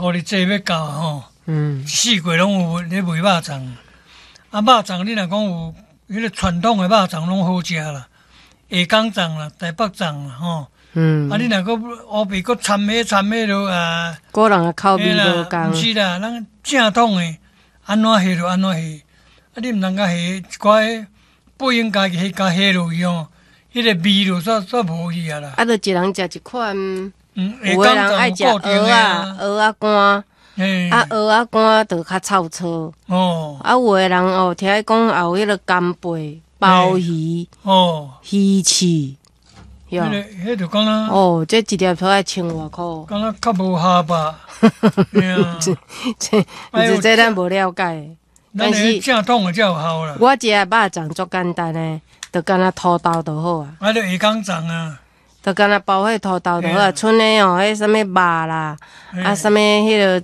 五日節欲到吼，四季攏有咧賣肉粽。啊，肉粽你若講有彼個傳統的肉粽攏好食啦，下港粽啦、台北粽啦，吼。啊，你若閣烏白閣摻彼摻彼落啊，個人的口味無仝。毋是啦，咱正統的按怎下就按怎下。啊，你毋通共下一寡不應該下共下落去吼，彼個味就煞煞無去啊啦。啊，就一人食一款。有的人愛食蚵仔，蚵仔乾。啊，蚵仔乾就較臭臊。啊，有的人哦，聽講也有彼個干貝、鮑魚、魚翅。彼個彼就敢若哦，這一粒都愛千外箍。敢若較無合吧？這這這咱無了解。但是正統的才有效啦。我食的肉粽足簡單的，就敢若土豆就好啊。啊，就下港粽啊。就敢若包彼土豆就好啊，賰的哦，彼啥物肉啦，啊，啥物彼個。